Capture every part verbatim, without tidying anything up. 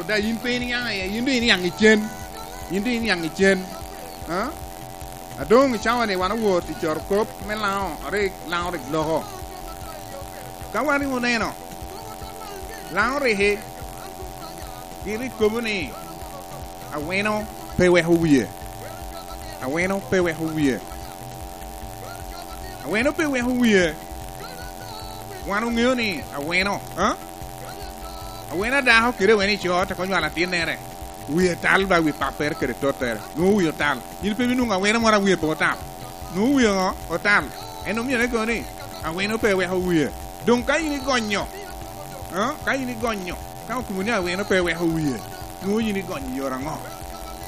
Da yin pe iniaŋ iye, yin doŋ iniaŋ i cen. Yin doŋ iniaŋ i cen. Ha? A doŋ i cawa-ni wan owor i carokop me Laŋo, a rik Laŋo rik loko. Ka wan rik oneno, Laŋo riki, gin rik kobo ni, "Aweno pe weko wie. Aweno pe weko wie." Aweno pe weko wie. Wan oŋeo ni aweno, ha? Aweno a dako kede aweno a co te konyo nywalo atinnere. Wie tal ba wi pappere kede tottere. Nwoŋo wie otal. Yin pe ibinwoŋo aweno moro a wie pe otal. Nwoŋo wie oŋo? Otal. En omio ni kono ni, aweno pe weko wie. Doŋ ka yin igonyo, ha? Ka yin igonyo, ka okobo ni aweno pe weko wie, nwoŋo yin igonyo i yore aŋo?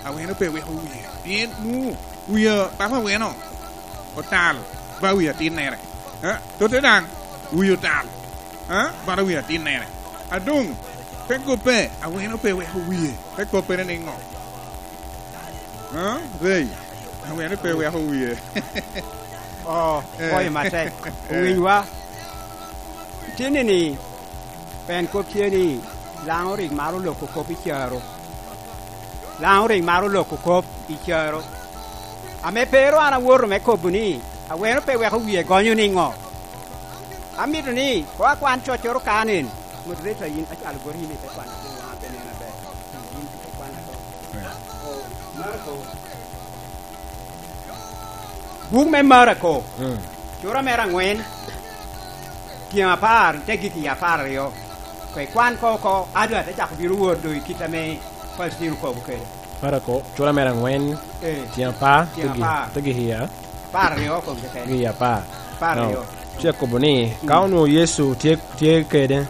Aweno pe weko wie. Pien nwoŋo wie papa aweno otal ba wi atinnere. Ha? Totte daŋ, wie otal. Ha? Bala wi atinnere. A doŋ, te kobbe, aweno pe weko wie. Te kobbere niŋo? Ha? Rey, aweno pe weko wie. Oh, eh, pwoyo matek. Eh. Owinywa. Itinni-ni, pen kop tye ni, Laŋo rik maro loko kop i caro. Laŋo rik maro loko kop i caro. Ame pe ru an awoto me kobo ni, aweno pe weko wie gonyo niŋo? Amito ni, koŋ akwan coccoro ka nen. Moderator, yin acwalo boti yin ite kwano piny, waŋa pe nen aber. Yin ikwan ako. Eh. Oh, Marko. Buk me Marko, mm, cura mere aŋwen, tyen apar, te gik i apar aryo. Koŋ ikwan ko oko, ado ate cako bino wot doŋ i kit ame Paucitino okobo kede. Marko, cura mere aŋwen, eh, tyen apar, tyen apar, te gik i a-, apar aryo keken. Gik i apar. Apar aryo. Now, ce kobo ni, mm, ka onwoŋo Yecu tye, tye kede,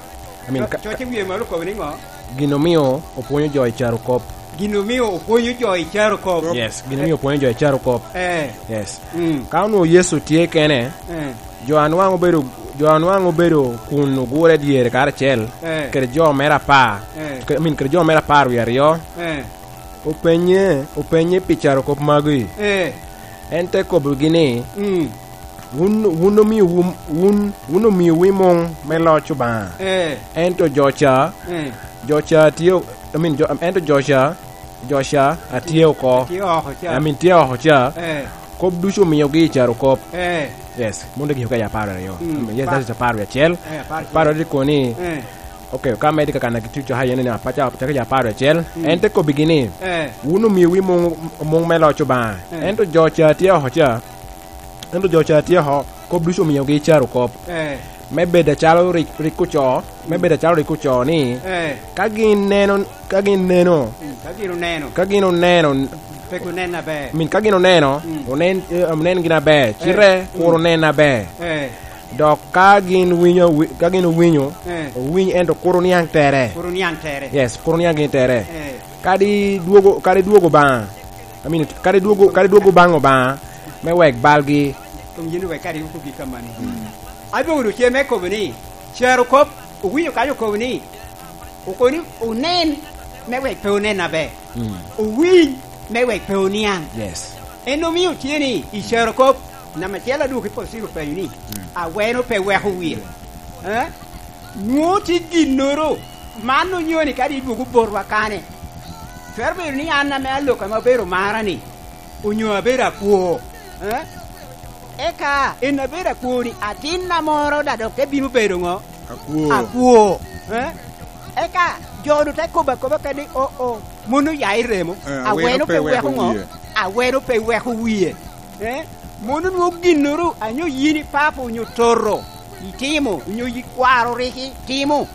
I mean, co-, ka, coc i wie malo okobo niŋo? Gin omio opwonyo jo i carokop. Gin omio opwonyo jo i carokop. Yes, gin omio opwonyo jo i carokop. Eh. Yes. Mm. Ka onwoŋo Yecu tye kene, eh, jo a nwaŋ obedo, jo a nwaŋ obedo kun ogure dyere karacel, eh, kede jo mere apar, eh, ke-, I mean, kede jo mere apar wie aryo, eh, openye, openye pi carokop magi. Eh. En te kobbigi ni, mm, "Wun, wun omiowu, wun, wun omiowu i muŋ me loc Obaŋa. Eh. Ento jo ca, eh, jo ca tye, I mean, jo, ento jo ca, jo ca a tye oko, tye oko ca, I mean, tye oko ca, eh, kop ducu omiogi i carokop." Eh. Yes, mon dek i apar aryo. Mm. I mean, yes, that is apar wie acel. Eh, apar wie acel. Apar aryo tye koni, eh, ok, ka medi kakana ki tic caka yen ni apaca, caka i apar wie acel. Mm. En te kobbigi ni, eh, "Wun omiowu i muŋ, muŋ me loc Obaŋa. Eh. Ento jo ca tye oko ca, ento jo ca tye oko, kop ducu omiogi i carokop." Eh. Me bedo acalo rik, rik ocoo, me, mm, bedo acalo rik ocoo ni, eh, ka gin neno, ka gin neno, mm, ka gin oneno, ka gin oneno, pe onen aber. I mean, ka gin oneno, mm, onen, eh, onen gin aber, eh, cite, mm, kur onen aber. Eh. Dok ka gin winyo, wi-, ka gin owinyo, eh, owiny, ento kur oniaŋ tere. Kur oniaŋ tere. Yes, kur oniaŋ gin tere. Eh. Kadi dwogo, kadi dwogo Obaŋa. I mean, kadi dwogo, kadi dwogo baŋ Obaŋa me wek balgi. Kom yin wek kadi okobi kamano. Mm. Abino wunu ce me kobo ni, carokop, owinyo kanyo okobo ni, okobo ni onen me wek pe onen aber. Mm. Owiny me wek pe oniaŋ. Yes. En omio tye ni i carokop, namba acel adwogo i Paucitino openyo ni, mm, "Aweno pe weko wie?" Eh? Nwoŋo tye ginnoro, man onyo ni kadi idwogo botwa kane, twero bedo ni an ame alok ame abedo mara-ni, onyo abedo akwo, eh? Eka en abedo akwo-ni, atinna moro daŋ dok te bino bedo ŋo? Akwo. Akwo, eh? Eka jo-nu te kobo akoba kede ni, "O, o, mon oya i remo, eh, aweno pe weko ŋo? Aweno pe weko wie." Eh? Mon onwoŋo ginnoro, anyo yin ipapa onyo toto, itimo, onyo yi kwaro rik itimo.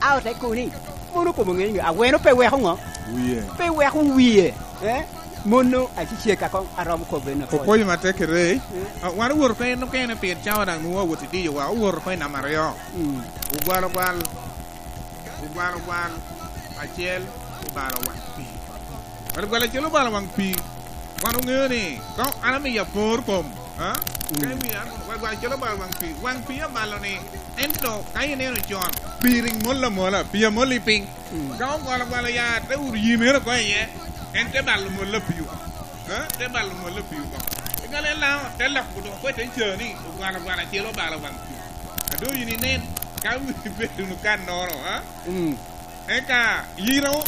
A ote kobo ni, mon okobo ŋe ni, aweno pe weko ŋo? Wie. Pe weko wie. Eh? Mon-nu acecek akoŋ aromo kobo en apol. Opwoyo matek kede. Eh? Ah, wan owoto oko en okene pien cawa daŋ nwoŋo awot i diyowa, owoto oko i namba aryo. Mm. Ogwal ogwal, ogwal ogwal, acel, obalo waŋ pii. Gwal gwal acel obalo waŋ pii. Wan oŋeo ni, ka an amiyo apor kom, ha? Mm. Ka imiyo an, gwal gwal acel obalo waŋ pii. Waŋ pii abalo ni, ento ka ineno con, pii rik mol amola, pii amol i piny. Mm. Ka ogwal ogwal oya, te wuro yimere oko iye, en te balo mol a pii oko. Ha? Te balo mol a pii oko. Egale Laŋo te lok dok oko i te cani, ogwal ogwal acel obalo waŋ pii. A doŋ yin inen, ka wun ibedo wunu kannoro, ha? Mm. Eka yira o-,